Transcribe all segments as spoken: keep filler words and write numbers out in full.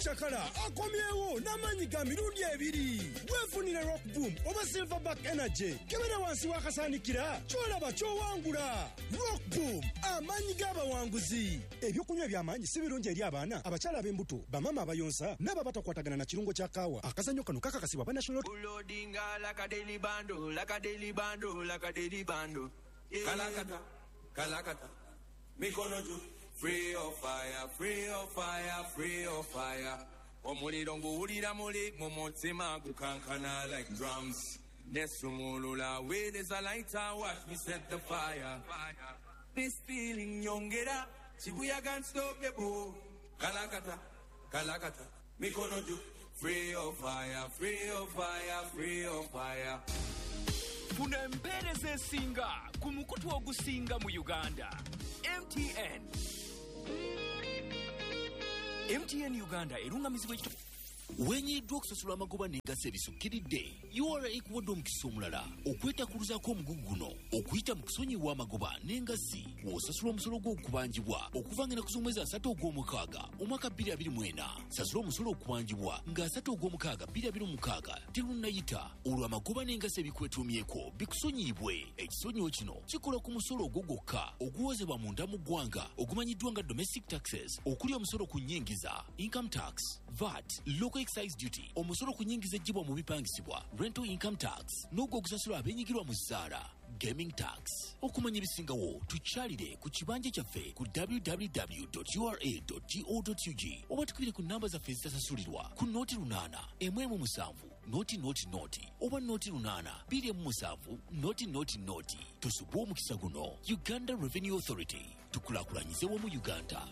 Chakala akomyewo n'amaanyi ga mirundi ebiri. Weefunire Rock Boom oba Silverback Energy. Kebera wansi w'akasaanikira ky'olaba ky'owangula. Rock Boom, amaanyi g'abawanguzi. Ebyokunywa eby'amaanyi si birungi eri abaana, abakyala ab'embuto, bamaama abayonsa n'abo abatakwatagana na kirungo kya kaawa. Akazannyo kano kakakasibwa ba National Ulodinga like a daily bando, like a daily bando, like a daily bando. Yeah. Kalakata, kalakata, mikono juu. Free of fire, free of fire, free of fire. Omuliro nguwulira muli mu mutima gukankana like drums. Nesumulula with is a lighter, watch me set the fire. This feeling nyongera, chibuya can't stop the boo. Kalakata, kalakata, mikono juu. Free of fire, free of fire, free of fire. Funa empeereza esinga ku mukutu ogusinga mu Uganda. M T N. M T N Uganda erungamizibwa ekito Wenyiddwa okusasula amagoba n'engassi ebisukkiridde, U R A ekuwadde omukisa omulala okwetakuluzaako omugugu guno okuyita mu kusonyiwa amagoba n'engassi w'osasula omusolo gw'okubanjibwa okuva ng'ennaku z'omwezi asatu ogw'omukaaga omwaka bbiri abiri mu ena. Sasula omusolo okubanjibwa nga asatu ogw'omukaaga bbiri abiri mu mukaaga terunnayita, olwo amagoba n'engassi ebikwetuumyeko bikusonyiyibwe. Ekisonyiwo kino kikola ku musolo ogwo gwokka oguwozebwa munda mu ggwanga ogumanyiddwa nga domestic taxes, okuli omusolo ku nnyingiza, income tax, V A T, local excise duty, omusolo ku nnyingiza eggyibwa mu bipangisibwa, rental income tax, n'ogwo ogusasulwa abeenyigirwa mu zzaala, gaming tax. Okumanya ebisingawo tukyalire ku kibanja kyaffe ku w w w dot u r a dot go dot u g oba tukubire ku namba zaffe ezitasasulirwa ku noti lunaana emu emu musanvu noti noti noti oba noti lunaana bbiri emu musanvu noti noti noti. Tusubwe omukisa guno. Uganda Revenue Authority, tukulaakulanyize wamu Uganda.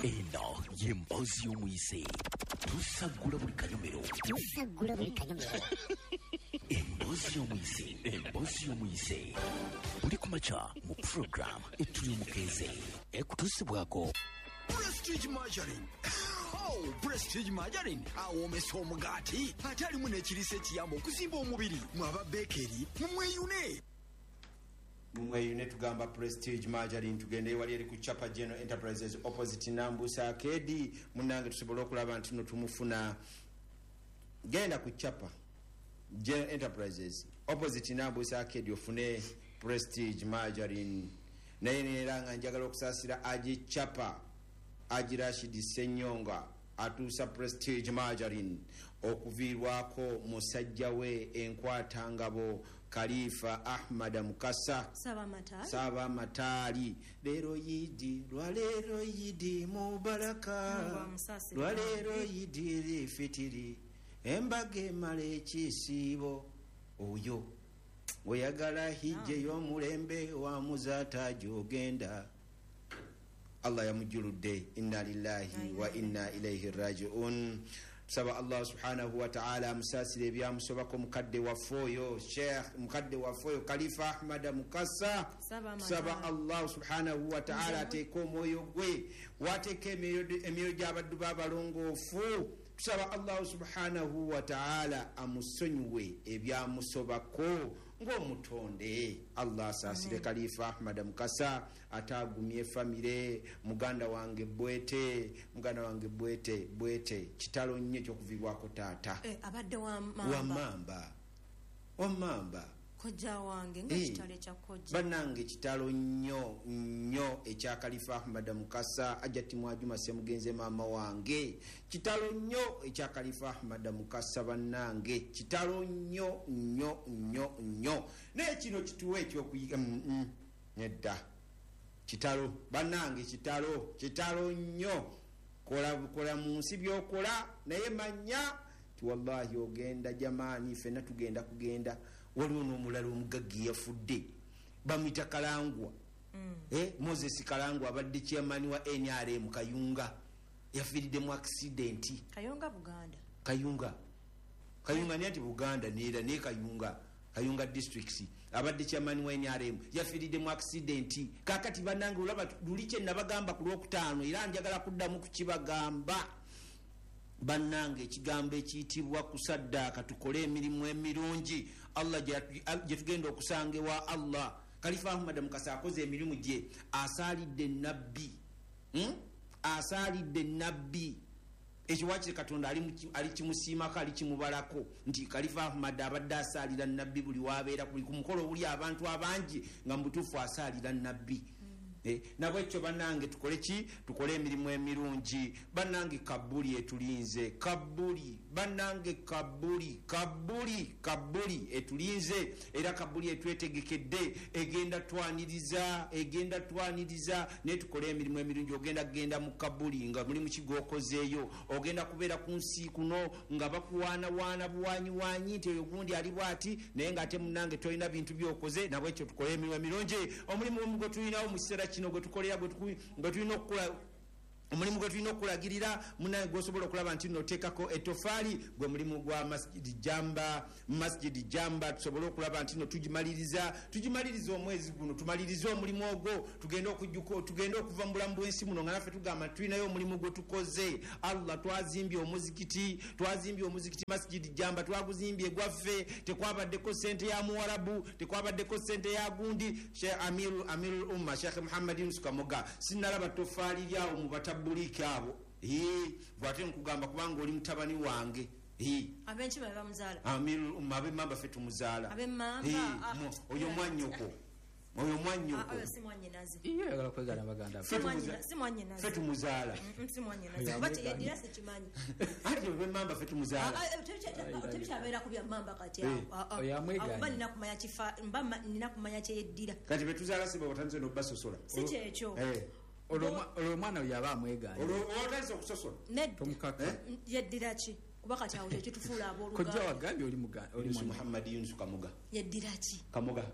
Eno ye mboozi y'omuyise. Tusaggula buli kanyomero. Tusaggula buli kanyomero. Emboozi y'omuyise. Emboozi y'omuyise. Buli ku makya mu program etuli omukeeze. Ekutuusibwako Prestige Margarine. Oh, Prestige Margarine awoomesa omugaati ate alimu n'ekiriisa ekiyamba okuzimba omubiri. Mwaba bakery mumweyune. Mumweyune tugamba Prestige Margarine. Tugende wali eri ku Chapa General Enterprises opposite Nambusa Arcade. Munnange tusobola okulaba nti no tumufuna. Genda ku Chapa General Enterprises opposite Nambusa Arcade ofune Prestige Margarine. Naye era nga njagala okusaasira Aji Chapa Aji Rashid Ssenyonga atuusa Prestige Margarine okuviirwako musajja we enkwatangabo Khalifa Ahmad Mukasa Ssaabamataali. Leero yidi lwaleero yidi mubaraka, lwaleero yidi lifitiri, embaga emala ekisiibo. Oyo oyagala hijja ey'omulembe wa muzaata gy'ogenda. Allah yamujjuludde. Inna lillahi wa inna ilayhi raji'un. Tusaba Allah subhanahu wa ta'ala amusaasire ebyamusobako mukadde waffe oyo Sheikh, mukadde waffe oyo Khalifa Ahmad Mukasa. Tusaba Allah subhanahu wa ta'ala ateeke omwoyo gwe wateeke emyoyo gy'abaddu b'abalongoofu. Tusaba Allah subhanahu wa ta'ala amusonyiwe ebyamusobako ng'omutonde. Allah asaasire Khalifa Ahmad Mukasa ate agumye famire. Muganda wange Bwete, muganda wange Bwete, Bwete kitalo nnyo ekyokuviibwako taata. Eh, abadde wa mamba. Wa mamba. Wa mamba. Kojja wange nga kitalo ekya kojja. Bannange kitalo nnyo nnyo ekya Khalifa Ahmad Mukasa. Ajati Mwajuma Ssemugenze maama wange. Kitalo nnyo ekya Khalifa Ahmad Mukasa bannange. Kitalo nnyo nnyo nnyo nnyo. Naye kino kituwe ekyokuyiga mm, mm, nedda. Kitalo bannange kitalo kitalo nnyo. Kola kola mu nsi by'okola naye manya ti wallahi ogenda jamaani ffenna tugenda kugenda. Waliwo n'omulala omugagga yafudde bamuyita Kalangwa. Mm. Eh, Moses Kalangwa abadde chairman wa N R M Kayunga, yafiiridde mu accident. Kayunga Buganda. Kayunga Kayunga ni anti Buganda neera ne Kayunga Kayunga districts abadde chairman wa N R M yafiiridde mu accident. Kaakati bannange olaba luli kye nabagamba ku Lwokutaano era njagala kuddamu kukibagamba. Bannange ekigambo ekiyitibwa kusaddaaka, tukole emirimu emirungi Allah gye tugenda okusanga ewa Allah. Khalifa Ahmad Mukasa akoze emirimu gye, asaalidde nabbi, hmm? Asaalidde nabbi. Ekyo wakiri Katonda ali kimusiimako, ali kimubalako nti Khalifa Ahmad abadde asaalira nabbi buli wabeera ku mukolo obuli abantu abangi nga mu butuufu asaalira nabbi. Eh, nabwekyo bannange tukole ki? Tukole emirimu emirungi. Bannange kabuli etulinze, kabuli bannange, kabuli kabuli kabuli etulinze, era kabuli etwetegekedde, egenda twaniriza, egenda twaniriza. Naye tukole emirimu emirungi. Ogenda kugenda mu kabuli nga mulimu kigwokozeeyo, ogenda kubeera ku nsi kuno nga bakuwaanawaana buwanyiwanyi nti oyo gundi ali bwati, naye ng'ate munnange tolina bintu byokoze. Nabwekyo tukole emirimu emirungi. Omulimu gwe tulinawo mu kiseera kino gwe tukolera, gwe tulina okukola, omulimu gwe tulina okulagirira munnange gw'osobola okulaba nti nno oteekako ettofaali, gwe mulimu gwa Masjidi Jamba. Masjidi Jamba tusobole okulaba nti nno tugimaliriza, tugimaliriza omwezi guno, tumalirize omulimu ogwo, tugende okujjuka, tugende okuva mu bulamu bw'ensi muno nga naffe tugamba tulinayo omulimu gwe tukoze. Allah, twazimbye omuzikiti, twazimbye omuzikiti Masjidi Jamba, twaguzimbye gwaffe, tekwabaddeko ssente ya Muwarabu, tekwabaddeko ssente ya gundi. Sheikh Amiru Amirul Umma Sheikh Muhammad Yunus Kamoga, sinnalaba ttofaali lyawo mu bata buliki abo. Eh, bwate nkugamba kubanga oli mutabani wange. Eh, abenki babe bamuzaala Amirul Umma ab'emmamba ffe tumuzaala. Ab'emmamba, oyo mwannyoko, oyo mwannyoko. Si mwannyinaze. Iye ayagala kwegana baganda be. Si mwannyinaze. Ffe tumuzaala. Si mwannyinaze. Kuba teyeddira sikimanyi. Ate ab'emmamba ffe tumuzaala. Tebikyabeera ku bya mmamba kati awo. Oyo amwegaanye. Mba nina kumanya kifa, mba nina kumanya kyeyeddira. Kati be tuzaala si bo batandise n'okubasosola. Si kyekyo. Olwo omwana oyo aba amwegaanye. Olwo otandise okusosola. Tomukaka. Yeddira ki? Kuba kati awo tekitufuula abooluganda. Kojja wagambye oli muganda, oli mwana. Muhammad Yunus Kamoga. Yeddira ki? Kamoga.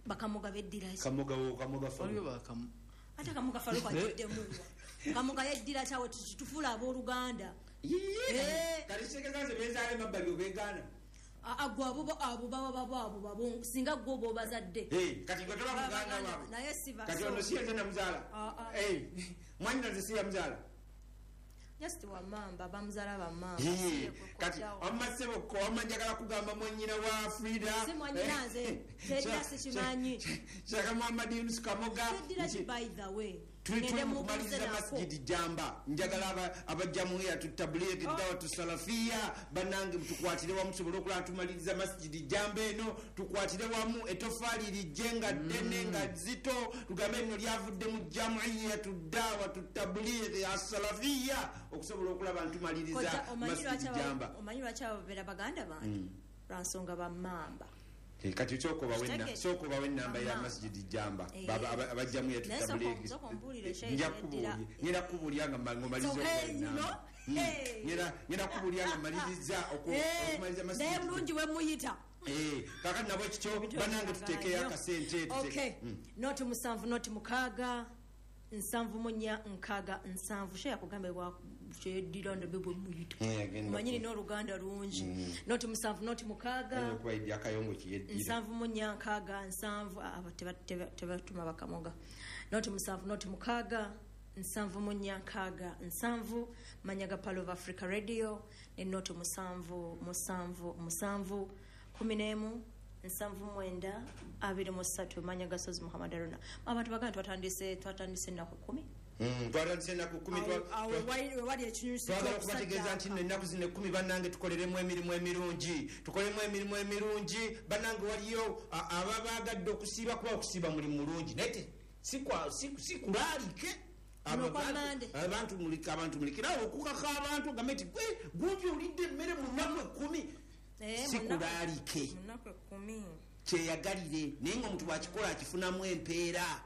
Bakamoga beddira ki? Kamoga wo Kamoga Faruku. Waliwo bakamu. Ate Kamoga Faruku agiddemu wa? Kamoga yeddira ki awo tekitufuula abooluganda? Kati kitegeeza nze benzaala emabbali obeegaana. Agwo abo abo baba babo abo babo singa gwo oba obazadde. Kati gwe toba muganda waabwe. Naye siba. Kati ono si yenze namuzaala. Mwannyinaze si yamuzaala. Just wa mamba bamuzaala ba mamba. Kati wamma ssebo wamma njagala kugamba mwannyina wa Frida. Si mwannyinaze. Teddira sikimanyi. Sheikh Muhammad Yunus Kamoga. Teddira ki by the way. Tuli mukumaliriza Masjidi Jamba. Njagala abajjamuya tutablighi dawatu salafia bannange tukwatire wamu tusobole okulaba tumaliriza Masjidi Jamba eno, tukwatire wamu ettofaali lijje nga ddene nga zito, tugambe nno lyavudde mu jamiyatu dawatu tablighi as-salafia okusobola okulaba ntumaliriza Masjidi Jamba. Omanyi lwaki ababeera baganda bange? Lwa nsonga ba mmamba. Kati sooka obawe ennamba ya Masjidi Jamba abajjamu yatutablighi. Ngenda kukubuulira nga ng'omaliriza okuwa. Ngenda kukubuulira nga mmaliriza okumaliriza Masjidi. Naye bulungi we muyita. Kaakati nabwe kityo bannange tuteekeyo akasente. Noti musanvu noti mukaaga nsanvu mu nnya nkaaga nsanvu. Sheikh yakugamba kyeddira ndabe bwe muyita. Omanyi nina oluganda lungi. Noti musanvu noti mukaaga nsanvu mu nnya nkaaga nsanvu. Abo tebatuma bakamoga. Noti musanvu noti mukaaga nsanvu mu nnya nkaaga nsanvu. Manyaga Pearl of Africa Radio ne noti musanvu musanvu musanvu kumi n'emu nsanvu mwenda abiri mu ssatu. Manyaga Sozi Muhammad Haruna. Abantu baganda twatandise twatandise ennaku kkumi. Twatandise ennaku kkumi. Twagala okubategeeza nti nno ennaku zino ekkumi bannange tukoleremu emirimu emirungi, tukolemu emirimu emirungi bannange. Waliyo ababaagadde okusiiba, kuba okusiiba mulimu mulungi naye si kulaalike abantu abantu mulikirawo okukaka abantu ogambe nti gwe gundi olidde emmere mu nnaku ekkumi. Si kulaalike, kyeyagalire, naye nga omuntu bw'akikola akifunamu empeera.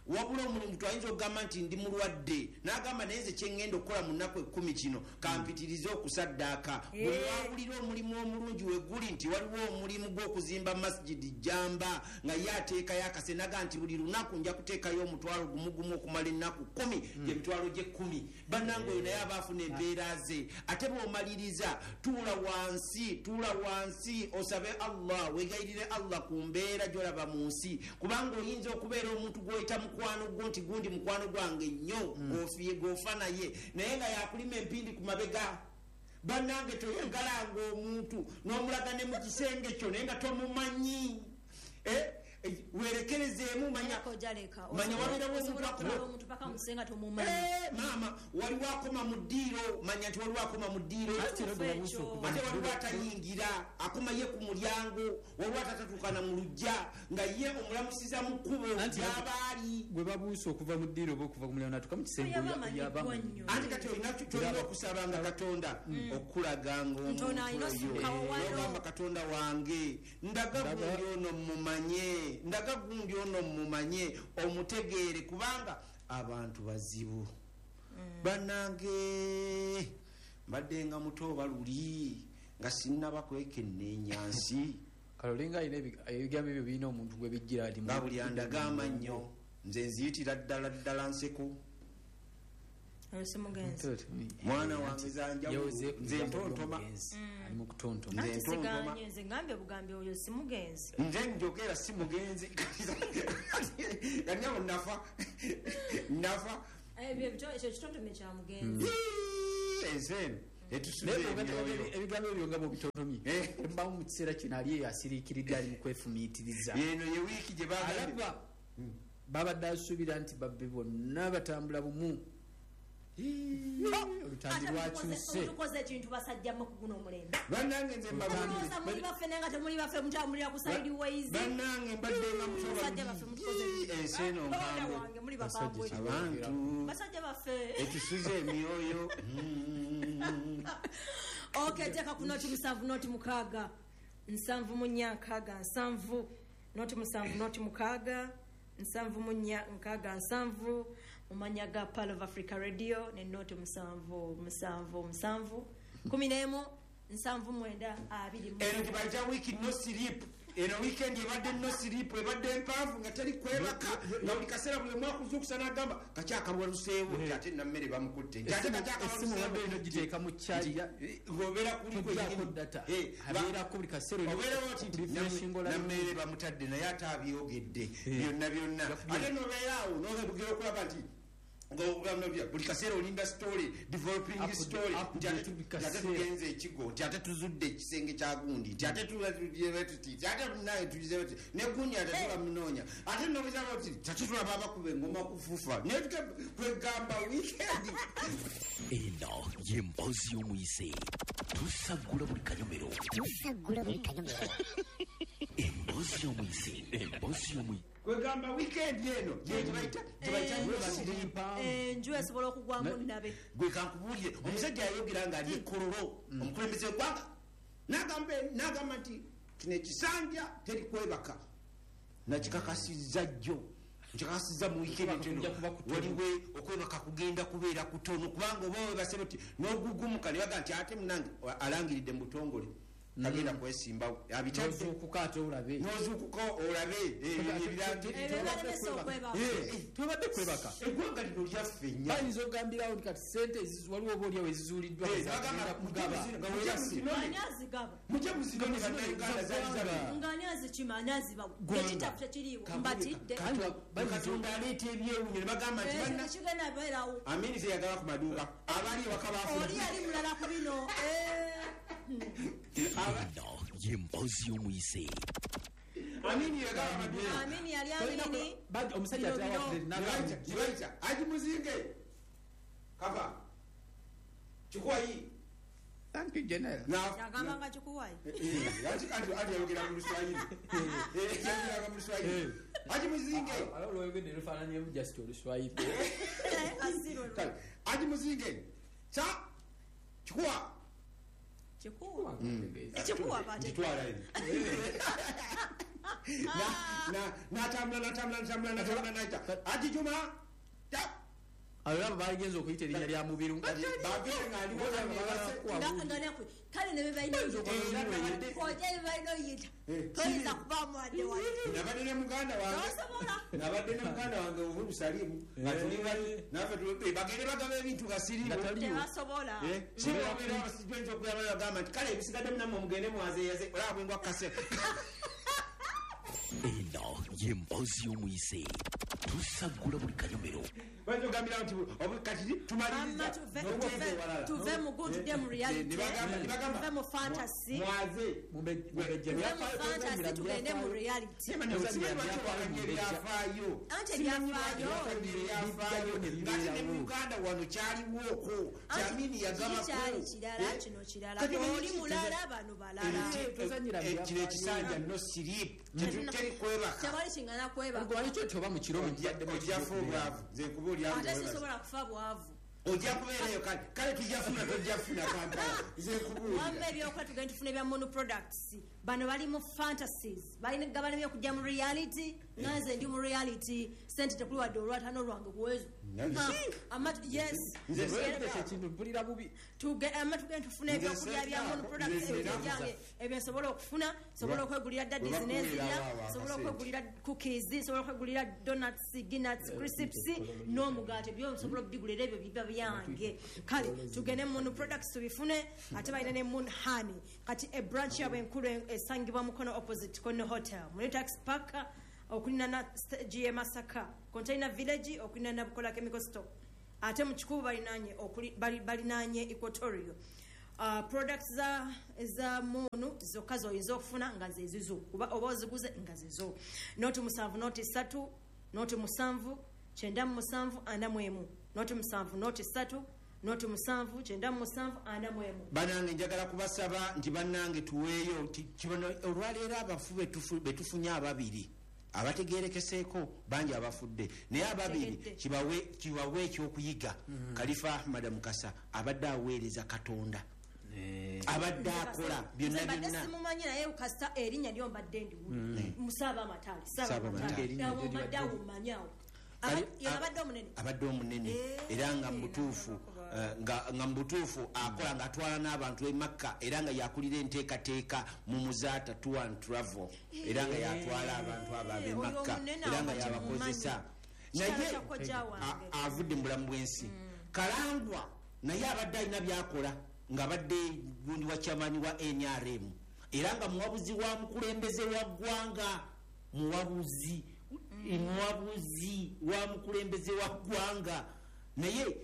Wabula omuntu ayinza okugamba nti ndi mulwadde n'agamba naye nze kye ŋŋenda okukola mu nnaku ekkumi kino kampitirize okusaddaaka. Buli lwawulira omulimu omulungi we guli nti waliwo omulimu gw'okuzimba Masjidi Jamba nga ye ateekayo akasenaga nti buli lunaku nja kuteekayo omutwalo gumu gumu okumala ennaku kkumi, gye mitwalo gy'ekkumi. Bannange oyo naye aba afuna empeera ze. Ate bw'omaliriza tuula wansi, tuula wansi osabe Allah, weegayirire Allah ku mbeera gy'olaba mu nsi, kubanga oyinza okubeera omuntu gw'oyita mukwano gwo nti gundi mukwano gwange nnyo, gofiye gofa naye, naye nga yakulima empindi ku mabega. Bannange toyagalanga omuntu n'omulaga ne mu kisenge kyo naye nga tomumanyi. Werekerezeemu manya manya wabeerawo omuntu paka musenga tomumanyi. Maama waliwo akoma mu ddiiro, manya nti waliwo akoma mu ddiiro, ate waliwo atayingira akoma ye ku mulyango, waliwo atatatuukana mu luggya nga ye omulamusiza mu kkubo gy'aba ali. Gwe babuuse okuva mu ddiiro oba okuva ku mulyango natuuka mu kisenge yaba amanyi. Anti kati olina kyolina okusabanga Katonda okulaganga omuntu oyo, n'ogamba Katonda wange ndaga gundi ono mumanye, ndaga gundi ono mumanye, omutegeere, kubanga abantu bazibu. Bannange mbadde nga muto oba luli nga sinnaba kwekenneenya nsi. Kale olinga alina ebigambo ebyo birina omuntu gwe bijjira ati nga buli andagamba nnyo nze nziyitira ddala ddala nseko. Mwana wange zanjawulo nze ntontoma, ali mu kutontoma. Nze ntontoma, nze ngambye bugambi oyo si mugenzi, nze njogera si mugenzi. Kati nafa nafa ekyo kitontome kya mugenzi. Ensi eno etusuza emyoyo. Ebigambo ebyo nga bw'obitontomye mbamu mu kiseera kino ali eyo asiriikiridde ali mu kwefumiitiriza. Eno ye wiiki gye bagambye babadde asuubira nti babbe bonna batambula bumu. Olutambi lwakyuse. Tukoze ekintu basajjamu ku guno omulembe. Bannange nze mbabulooza muli baffe naye nga temuli baffe, mutambulira ku side ways. Bannange mbadde nga musajja baffe mutukoze ensi eno nkambwe. Wange muli bakambwe. Abantu basajja baffe etusuze emyoyo. Okay, teeka ku noti musanvu noti mukaaga nsanvu mu nnya nkaaga nsanvu, noti musanvu noti mukaaga nsanvu mu nnya nkaaga nsanvu, mu mannya ga Pearl of Africa Radio ne noti musanvu musanvu musanvu kumi n'emu nsanvu mwenda abiri mu. Eno gye bayita week no sleep. Eno weekend ebadde no sleep, ebadde empanvu nga teri kwebaka, nga buli kaseera buli omu akuzuukusa n'agamba kakyakabaluseewo nti ate nammere bamukutte, nti ate Essimu obadde olina ogiteeka mu kyalya ng'obeera kuli togyako data, abeerako buli kaseera obeerawo nti nammere bamutadde naye ate abyogedde byonna byonna, ate n'obeera awo n'ogera okulaba nti buli kaseera olinda story, developing story, nti ate tugenze ekigo, nti ate tuzudde ekisenge kya gundi, nti ate tuti, nti ate naye tugize tuti, ne gundi ate tulamunoonya, ate nobuzaba tuti ate tulaba abakuba engoma kufufa, naye kwegamba weekend. Eno ye mboozi y'omuyise. Tusaggula buli kanyomero, tusaggula buli kanyomero. Emboozi y'omuyise, emboozi y'omuyise. Kwegamba weekend eno gye bayita gye bayita enju esobola okugwamu nnabe. Gwe kankubuulire, omusajja yayogera ng'ali e Kololo, omukulembeze w'eggwanga n'agamba nti kino ekisanja teri kwebaka, nakikakasizza jjo, nkikakasizza mu weekend eno, waliwo okwebaka kugenda kubeera kutono, kubanga oba webase oti n'ogugumuka ne bagamba nti ate munange alangiridde mu butongole tagenda kwesimbawo, n'ozuukuka ate olabe, n'ozuukuka olabe tobadde kwebaka. Eggwanga lino lyaffe nnyo. Bayinza okugambirawo nti kati ssente waliwo oba oliawo ezizuuliddwa kugaba, ani azigaba? Mujje muzinone bannayuganda zaali zabi. Nga ani azikima, ani azibawa? Ekitabu tekiriiwo, mbatidde. Katonda aleeta ebyewuunyo ne bagamba nti banna tekigenda beerawo. Amini teyagaba ku maduuka, abali ewaka baafuna. Oli yali mulala ku bino. Eno ye mboozi y'omuyise. Amini yagaba amaduuka. Amini yali amini. Omusajja atera Haji Muzinge kava kikuwayi. Thank you, General. Yagamba nga kikuwayi. Anti ayogera mu Luswayiri. Yayogera mu Luswayiri. Haji Muzinge. Olwogedde lufaananyeemu just Oluswayiri. Haji Muzinge kya kikuwa. Kikuwa. Kikuwa bate. Kitwala eno. N'atambula n'atambula n'atambula n'atambula n'ayita Haji Juma. Abo bagenze okuyita erinnya lya Mubiru kale ne bebalina balina oyita toyinza kubaamu wadde wadde. Nabadde ne muganda wange, nabadde ne muganda wange Uhuru Salimu nga tuli bali naffe bagende bagaba ebintu nga siriiwo tebasobola. Siriwo okuyaba nti kale ebisigadde munammwe mugende mwazeeyaze olaba bwengwa kukase. Eno ye mboozi y'omuyise. Tusaggula buli kanyomero. Bayogambira nti kati tumaliriza tuve mu good dem reality, tuve mu fantasy, mwaze mubejje fantasy tugende mu reality. Ebyafaayo anti ebyafaayo ebyafaayo ngati ne mu Uganda wano kyaliwooko Kyamini yagamba kyali kirala kino kirala oli mulala bano balala. Kino ekisanja no sleep teri kwebaka tewali kingana kwebaka gwe walikyo toba mu kiro ojja kufa obwavu nze nkubuulira ate sisobola kufa bwavu ojja kubeerayo kale kale tujja funa tojja funa Kampala nze nkubuulira wamma ebyokukola tugende tufune ebya mono products bano bali mu fantasies balina gabalemye okujja mu reality nga nze ndi mu reality sente tekuli wadde olwataano lwange kuwezo yes ekintu mpulira bubi amma tugende tufune ebyokulya bya mono products ebyange ebyo nsobola okufuna nsobola okwegulira daddies n'enzirya nsobola okwegulira cookies nsobola okwegulira donuts guinness crisps n'omugaati byo nsobola okubigulira ebyo biba byange kale tugende mono products tubifune ate balina ne moon honey kati e branch yabwe enkulu esangibwa Mukono opposite Kono Hotel mu Tax Park okulina G M Masaka Container Village okulina na Bukola Chemical Store ate mu Kikubu balinanye balinanye Equatorial uh, products za za mono zokka zoyinza okufuna nga zezizo kuba oba oziguze nga zizo noti musanvu noti ssatu noti musanvu kyenda mu musanvu ana mu emu noti musanvu noti ssatu noti musanvu kyenda mu musanvu ana mu emu. Banange njagala kubasaba nti bannange tuweeyo kibono olwaleero abafu betufunye ababiri abategeerekeseeko bangi abafudde naye ababiri kibawe kibawe ekyokuyiga. Khalifa Ahmad Mukasa abadde aweereza Katonda abadde akola byonna byonna simumanyi naye kasita erinnya lyo mbadde ndiwulira Musaaba Amataali Saaba Amataali mbadde awumanyawo abadde omunene abadde omunene era nga mubutuufu nga nga mubutuufu akola ng'atwala n'abantu e Makka era nga yakulira enteekateeka mu Muzaata Tour and Travel era nga yatwala abantu abo ab'e Makka era nga yabakozesa naye avudde mu bulamu bw'ensi. Kalangwa naye abadde alina by'akola ng'abadde gundi wa chairman wa N R M era nga muwabuzi wa mukulembeze wa ggwanga muwabuzi muwabuzi wa mukulembeze wa ggwanga naye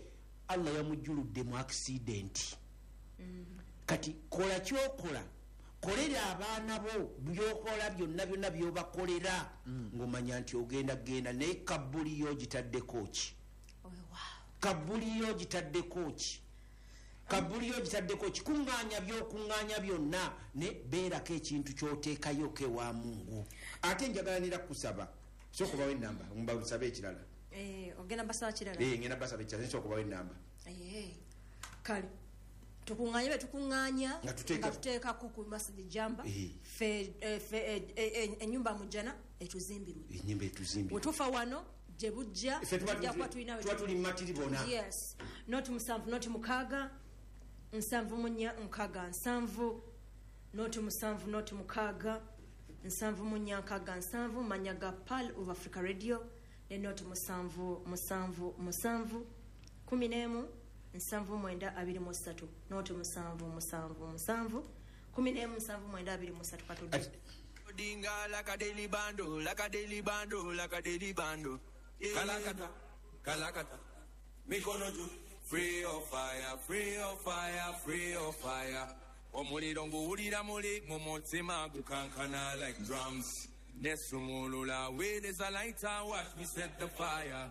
Allah yamujjuludde mu accident. Mm. Kati kola kyokola kolera abaana bo byokola byonna byonna byobakolera mm. ng'omanya nti ogenda genda naye kabbuli yo gitaddeko ki? Oh, wow. Kabbuli yo gitaddeko ki? Kabbuli yo gitaddeko ki? Kuŋŋaanya by'okuŋŋaanya byonna ne beerako ekintu ky'oteekayo kewa Mungu. Ate njagala nera kusaba sooka obawe ennamba mbasabe ekirala. Eh, ogenda basaba kirala? Eh, ngenda basaba ekirala sooka obawe ennamba. Eh, kale tukuŋŋaanye bwe tukuŋŋaanya nga tuteekako ku Masjid Jamba ffe ennyumba mujjana etuzimbirwe ennyumba etuzimbirwe wetufa wano gye bujja tujja kuba tulina tuba tuli matiri bona. Yes noti musanvu noti mukaaga nsanvu mu nnya nkaaga nsanvu noti musanvu noti mukaaga nsanvu mu nnya nkaaga nsanvu manya ga Pearl of Africa Radio ne noti musanvu musanvu musanvu kumi n'emu nsanvu mwenda abiri mu ssatu noti musanvu musanvu musanvu kumi n'emu nsanvu mwenda abiri mu ssatu katudde. Dinga like a daily bando, like a daily bando, like a daily bando. Kalakata, kalakata. Mikono juu, free of fire, free of fire, free of fire. Omuliro nguwulira muli mu mutima gukankana like drums. Nesumulula with is a lighter, watch me set the fire.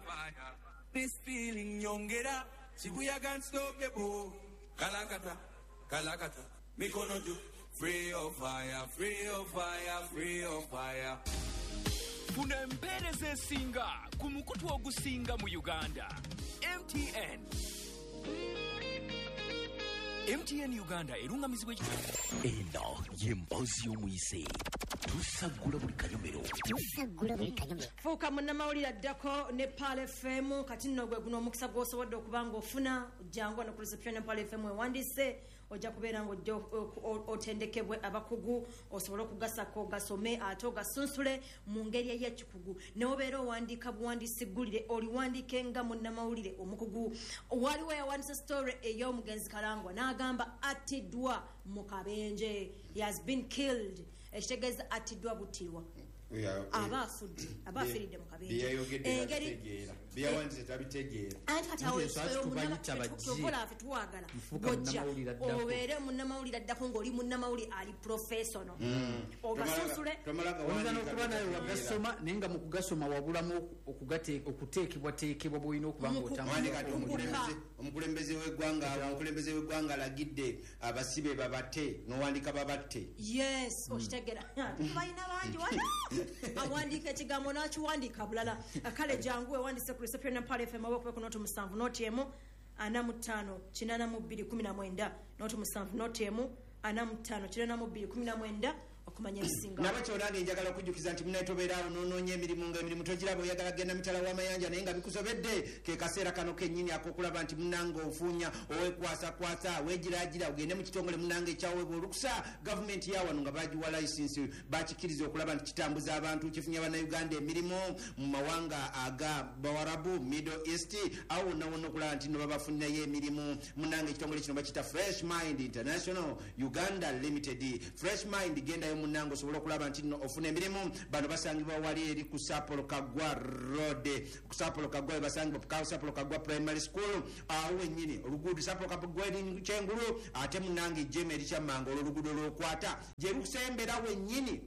This feeling nyongera, Shibuya can't stop the boom. Kalakata, kalakata. Mikono juu, free of fire, free of fire, free of fire. Funa empeereza esinga ku mukutu ogusinga mu Uganda. M T N. M T N Uganda erungamizibwa eno y'emboozi y'omuyise. Tusaggula buli kanyomero. Tusaggula buli kanyomero. Fuuka munnamawulire addako ne Pearl F M kati nno gwe guno omukisa gw'osobodde okuba ng'ofuna jangu wano ku reception ya Pearl F M wewandiise ojja kubeera ng'ojja otendekebwe abakugu osobole okugasako ogasome ate ogasunsule mu ngeri ey'ekikugu n'obeera owandiika buwandiisi ggulire oliwandiike nga munnamawulire omukugu. Waliwo yawandiisa story ey'omugenzi Kalangwa n'agamba attiddwa mu kabenje, he has been killed, ekitegeeza attiddwa buttirwa. Aba afudde, aba afiiridde mu kabenje. Anti kati awo kyokola ffe tuwagala gojja obeere munnamawulire addako ng'oli munnamawulire ali professional, ogasusule. Oyinza n'okuba naye wagasoma naye nga mu kugasoma wabulamu okuteekebwateekebwa bw'olina okuba ng'otambula. Omukulembeze w'eggwanga omukulembeze w'eggwanga alagidde abasibe babate, n'owandiika babatte. Yes, okitegera, balina bangi wano awandiika ekigambo n'akiwandiika bulala. Kale jangu ewandise ku reception ya Mpala F M oba ku noti musanvu noti emu ana mu ttaano kinaana mu bbiri kumi na mwenda, noti musanvu noti emu ana mu ttaano kinaana mu bbiri kumi na mwenda okumanya ebisinga. Nabakyo nange njagala okujjukiza nti munaye tobeeraawo n'onoonya emirimu nga emirimu togiraba, oyagala genda mitala w'amayanja naye nga bikusobedde, ke kaseera kano kennyini ak'okulaba nti munnange ofuunya owekwasakwasa weegiraagira ogende mu kitongole munnange ekyaweebwa olukusa gavumenti ya wano nga bagiwa layisinsi bakikkiriza okulaba nti kitambuza abantu, kifunya bannayuganda emirimu mu mawanga aga Bawarabu, Middle East, awo wonna wonna okulaba nti no babafunirayo emirimu. Munnange ekitongole kino bakiyita Fresh Mind International Uganda Limited. Fresh Mind, gendayo munnange osobola okulaba nti nno ofuna emirimu. Bano basangibwa wali eri ku Sapolo Kagwa Road, ku Sapolo Kagwa we basangibwa, ku Sapolo Kagwa Primary School awo wennyini oluguudo Sapolo Kagwa eri kyengulu, ate munnange jema eri Kyammango, olwo oluguudo lw'okwata gye lusembera wennyini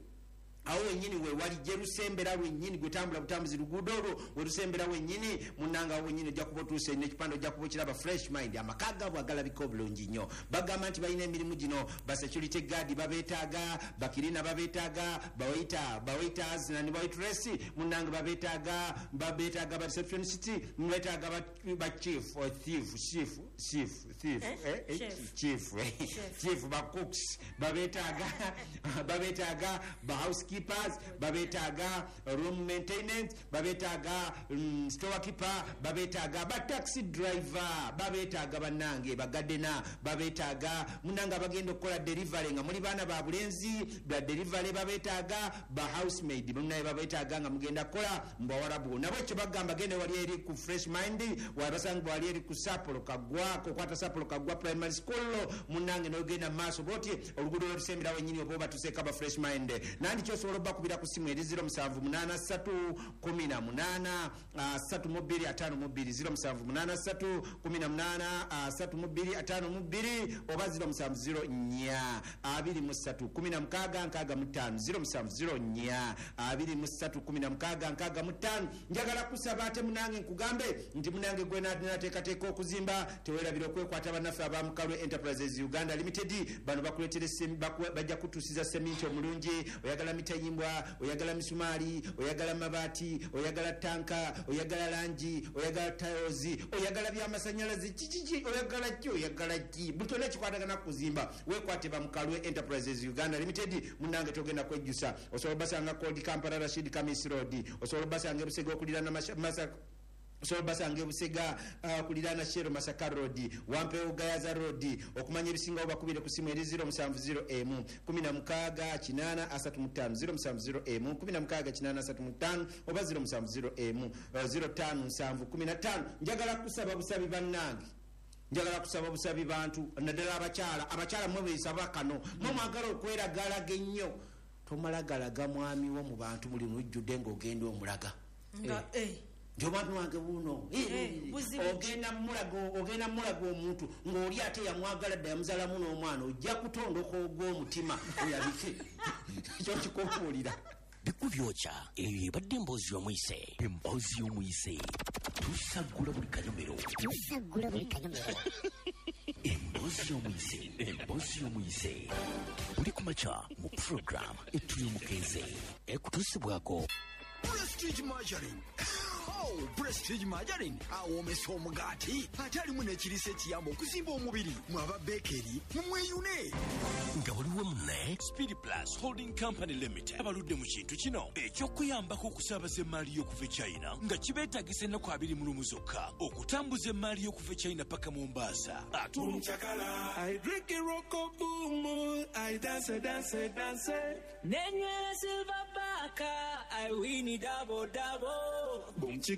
awo wennyini we wali gye lusembera wennyini, gwe tambula butambuzi luguudo olwo we lusembera wennyini munnange awo wennyini ojja kuba otuuse n'ekipande ojja kuba okiraba Fresh Mind. Amaka gaabwe agalabika obulungi nnyo, bagamba nti balina emirimu gino, ba security guard babeetaaga, bakirina babeetaaga, bawaita bawaiters ne waitress munnange babeetaaga, babeetaaga ba receptionist, beetaaga ba chief or thief chief chief thief eh chief chief ba cooks babeetaaga, babeetaaga ba housekeeper, babetaaga room maintenance, babetaaga mm, storekeeper, babetaaga ba taxi driver, babetaaga bannange bagadena, babetaaga munnange abagenda okukola delivery nga muli baana ba bulenzi ba delivery, babetaaga ba housemaid munnaye babetaaga nga mugenda kukola mu Bawarabu. Nabo ekyo bagamba genda wali eri ku Fresh Mind, wabasangibwa wali eri ku Sapolo Kagwa, kokwata Sapolo Kagwa Primary School munnange n'ogenda mu maaso bw'oti oluguudo lw'olusembera wennyini oba obatuseeko aba Fresh Mind. Nandi kyosobola bakubira ku simu eri zero musanvu munaana ssatu kumi na munaana ssatu mu bbiri ataano mu bbiri, zero musanvu munaana ssatu kumi na munaana ssatu mu bbiri ataano mu bbiri oba zero musanvu zero nnya abiri mu ssatu kumi na mukaaga nkaaga mu ttaano, zero musanvu zero nnya abiri mu ssatu kumi na mukaaga nkaaga mu ttaano. Njagala kusaba ate munange nkugambe nti munange gwe nateekateeka okuzimba teweerabira okwekwata bannaffe aba Mukalwe Enterprises Uganda Limited. Bano bakuleetera bajja kutuusiza seminti omulungi, oyagala mitayimbwa, oyagala misumaali, oyagala mabaati, oyagala tanka, oyagala langi, oyagala tiles, oyagala byamasannyalaze, kikiki oyagala ki oyagala ki buli kyonna ekikwatagana kuzimba weekwate ba Mukalwe Enterprises Uganda Limited. Munnange togenda kwejjusa, osobola obasanga Old Kampala Rashid Kamis Road, osobola obasanga e Busega okuliraana Masaka, osobola obasanga e Busega okuliraana Shero Masaka Road, Wampeewo Gayaza Road. Okumanya ebisingawo bakubire ku simu eri zero musanvu zero emu kumi na mukaaga kinaana asatu mu ttaano, zero musanvu zero emu kumi na mukaaga kinaana asatu mu ttaano oba zero musanvu zero emu zero ttaano nsanvu kumi na ttaano. Njagala kusaba busabi bannange, njagala kusaba busabi bantu naddala abakyala. Abakyala mmwe beesaba kano, mmwe mwagala okweragalaga ennyo, tomalagalaga mwami wo mu bantu muli lujjudde ng'ogenda omulaga nga eh nti omwami wange buno ogenda mulaga ogenda mulaga omuntu ng'oli ate yamwagala dda yamuzaalamu n'omwana, ojja kutondoka ogw'omutima oyabike ekyo kikubuulira. Bikubyokya eyo ebadde emboozi y'omuyise, emboozi y'omuyise tusaggula buli kanyomero, tusaggula buli kanyomero. Emboozi y'omuyise, emboozi y'omuyise buli kumakya mu program etuli omukenze ekutuusibwako Prestige Margarine. Oh, Prestige Margarine awoomesa omugaati ate alimu n'ekiriisa ekiyamba okuzimba omubiri. Mwe aba bekeri mumweyune nga waliwo munne Speed Plus Holding Company Limited abaludde mu kintu kino eky'okuyambako okusaabaza emmaali y'okuva e China nga kibeetagisa ennaku abiri mu lumu zokka okutambuza emmaali y'okuva e China paka Mombasa. Ate I drink a roko boom, I dance, dance, dance. Nenywera silver baka, I win it double, double. Boom chiki.